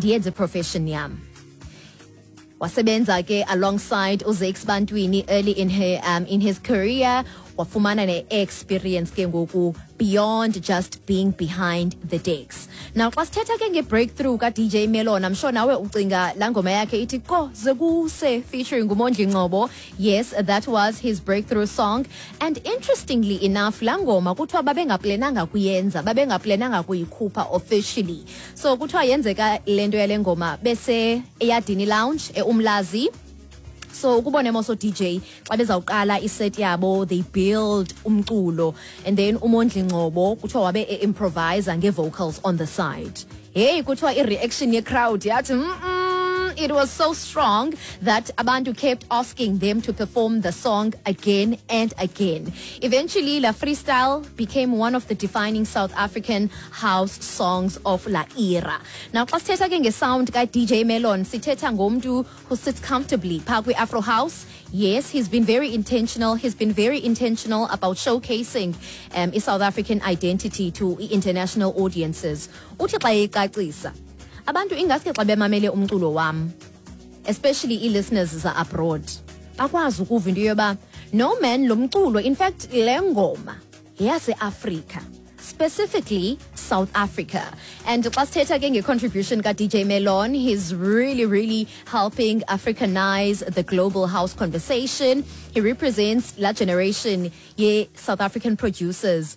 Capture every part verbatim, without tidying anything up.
Ndiyenze profession yam. Wasebenza ke alongside uZakes Bantwini early in her um, in his career, wafumana ne-experience ke ngoku beyond just being behind the decks. Now xa sithetha ke nge-breakthrough ka-D J Melon, I'm sure nawe ucinga laa ngoma yakhe ithi Koze Kuse featuring uMondli Ngcobo. Yes, that was his breakthrough song, and interestingly enough, laa ngoma kuthiwa babengaplananga kuyenza, babengaplananga kuyikhupha officially. So kuthiwa yenzeka le nto yale ngoma bese Eyadini Lounge eUmlazi. So ukubona emoso D J xa bezawuqala iset yabo, they build umculo and then uMondli Ngcobo kuthiwa wabe e-improvisa nge-vocals on the side. Hey, kuthiwa i-reaction ye-crowd yathi mm -mm, it was so strong that abantu kept asking them to perform the song again and again. Eventually, La Freestyle became one of the defining South African house songs of la era. Now, xa sithetha ke ngesound ka-D J Melon, sithetha ngomntu who sits comfortably phaa kwi-Afro House. Yes, he's been very intentional. He's been very intentional about showcasing um, i-South African identity to international audiences. Uthi xa eyicacisa, abantu ingaske xa bemamele umculo wam, especially ii-listeners za-abroad, bakwazi ukuva into yoba no man, lo mculo, in fact le ngoma yeyaseAfrika, specifically South Africa. And xa sithetha ke nge-contribution ka-D J Melon, he's really, really helping Africanize the global house conversation. He represents la generation ye-South African producers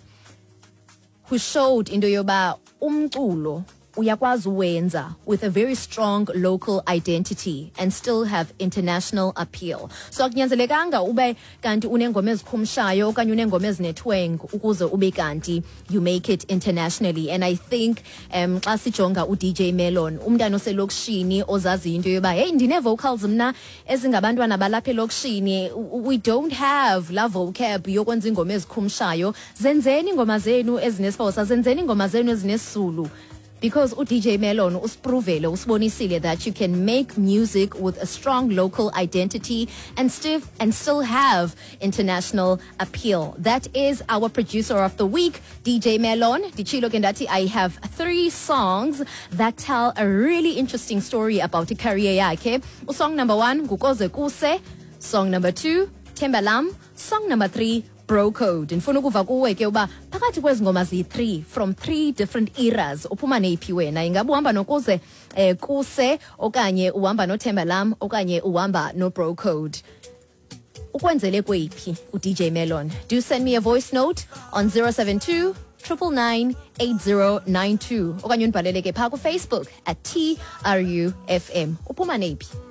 who showed into yoba umculo uyakwazi uwenza with a very strong local identity and still have international appeal. So akunyanzelekanga ube kanti unengoma ezikhumshayo okanye unengoma ezinetwang ukuze ube kanti you make it internationally. And I think um xa sijonga u-D J Melon, umntana oselokishini ozaziyo into yoba hey, ndine-vocals mna ezingabantwana balapha elokishini, we don't have la vocab yokwenza ingoma ezikhumshayo, zenzeni ingoma zenu ezinesiXhosa, zenzeni ingoma zenu ezinesizulu, because u-D J Melon usiprovele, usibonisile that you can make music with a strong local identity and still and still have international appeal. That is our producer of the week, D J Melon. Nditshilo ke ndathi I have three songs that tell a really interesting story about career yakhe. Song number one, nguKoze Kuse. Song number two, Themba Lam. Song number three, Bro Code. Ndifuna ukuva kuwe ke uba phakathi kwezi ngoma ziyi-three from three different eras, uphuma neyiphi wena? Ingaba uhamba noKoze eh, Kuse okanye uhamba noThemba Lam okanye uhamba noBro Code? Ukwenzele kweyiphi u-D J Melon? Do send me a voice note on zero seven two nine nine nine eight zero nine two okanye undibhalele ke phaa kuFacebook at T R U F M. Uphuma neyiphi?